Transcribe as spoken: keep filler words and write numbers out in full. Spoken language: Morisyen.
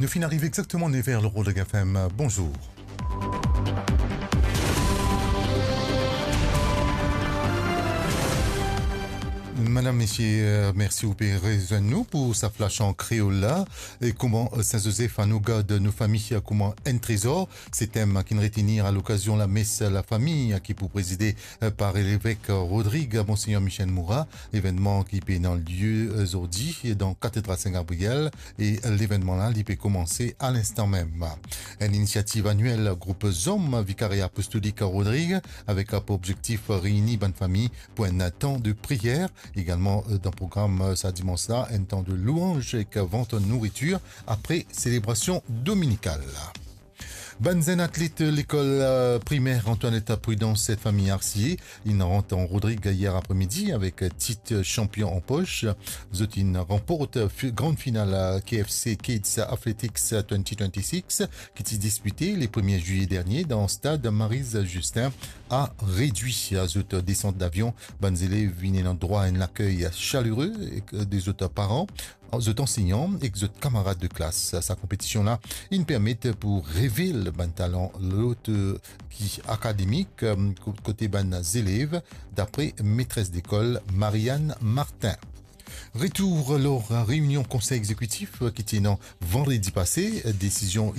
Nou finn ariv exakteman nev er lor Rodrig F M. Bonzour. Madam, mesie, euh, mersi ou pe rezwenn nou pou sa flash an kreol la. E kouma, euh, Saint Joseph a nou gard nou fami, euh, kouma enn trezor, se tem ki'nn retenir a lokazion lames lafami, euh, ki pou prezide, euh, par levek, euh, Rodrig, Monseigneur Michel Moura, evennman ki pe ena lie, euh, zordi dan Katedral Saint Gabriel, e, euh, levennman la, li pe koumanse a linstan mem. Enn inisiativ aniel group Zom Vikaria Apostolik Rodrig, avek, euh, pou objektif, euh, reyini bann fami pou enn tan de priyer. Egalman, euh, dan program, euh, sa dimans la, enn tan de louanz ek vant nouritir apre selebrasion dominikal. Bann zenn atlet lekol, euh, primer Antoinette Prudence, set fami Arsier, inn rant an Rodrig yer apremidi avek tit chanpion an pos. Zot inn ranport fi-, gran final, euh, K F C Kids Athletics twenty twenty-six, ki ti dispite le premie zilye dernie dan stad Maryse Justin a Redui. A zot desant davion, bann zelev inn ena drwa enn lakey salere ek de zot paran, zot ansegnan ek zot kamarad de klas. Sa konpetision la inn permet pou revel bann talan lot, euh, ki akademik, euh, ko-, kote bann zelev, dapre metres lekol Marianne Martin. Retour lor reinion konsey exekitif ki ti ena vandredi pase, desizion